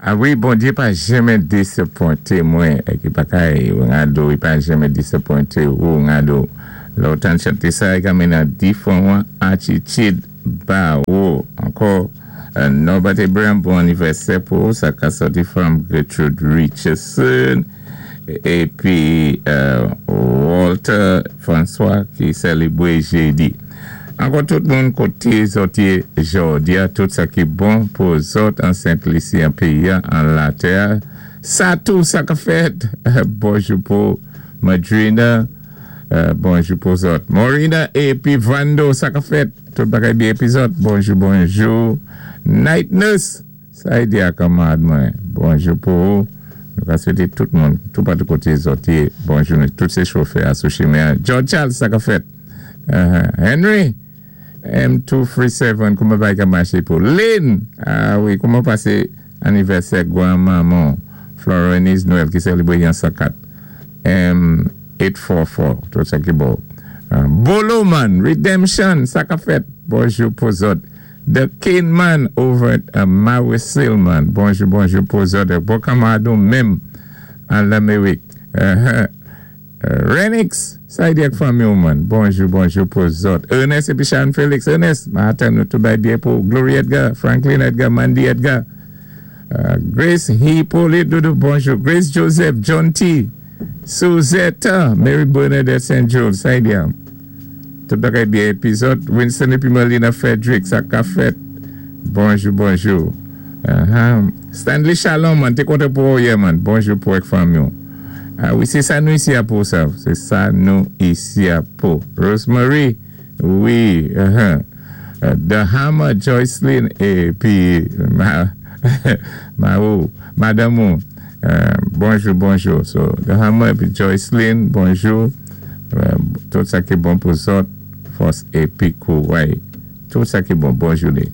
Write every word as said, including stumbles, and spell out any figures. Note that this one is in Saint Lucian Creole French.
A wi, Bondyé pa janmen désapwenté mwen. Épi pa kay, ngado, i pa janmen désapwenté ou ngado. Lè ou tann chanté sa, i ka mennen diféwan atitid ba ou. Ankò, Norbert Abraham, bon anivèsè pou sa ka sòti from Gertrude Richardson. Épi Walter François ki sélébwé jédi. Ankò tout moun koté zòt yé jòdi a, tout sa ki bon pou zòt an Sent Lisi, an péyi an latè. Sa tou sa ka fèt. Bonjou pou Madrina, bonjou pou zòt. Morina épi Vando, sa ka fèt. Tout bagay byen épi zòt. Bonjou, bonjou. Night Nurse, sa yi di akamad mwen. Bonjou pou nou ka swété tout moun, tout patou koté zòt yé. Bonjou, tout sé chofè a sou chimen. George Charles, sa ka fèt. Henry, M two three seven, kouman bagay ka maché pou Lynn, a wi, kouman pasé anivèsè gwanmanman Florenise Noël ki sélébwé yon sakat M eight four four, tout sa ki bon. Bolo Man, Redemption, sa ka fèt. Bonjou pou zòt. The King Man over at Mawisil Man. Bonjou, bonjou pou zòt. Bon kanmadou menm an Lamérik. Renix, sa yi di ak fanmi ou man. Bonjou, bonjou pou zòt. Ernest épi Sharon Felix. Ernest, ma atan nou tou bay byen pou Glory Edgar, Franklin Edgar, Mandy Edgar. Grace Hippolyte Doudou, bonjou. Grace Joseph, John T. Suzette, Mary Bernadette Saint Jules, sa yi di am. Tout bagay byen épi zòt. Winston épi Melina Frederick, sa ka fèt. Bonjou, bonjou. Stanley Shalom man, té kontan pou ou yè man. Bonjou pou ek fanmi ou. A wi, sé sa nou isi a pou sa. Sé sa nou isi a pou. Rosemary, wi. The Hammer, Joycelyn, épi ma ou, madame ou. Bonjou, bonjou. So, The Hammer épi Joycelyn, bonjou. Tout sa ki bon pou zòt, fòs épi kouway. Tout sa ki bon, bonjou li.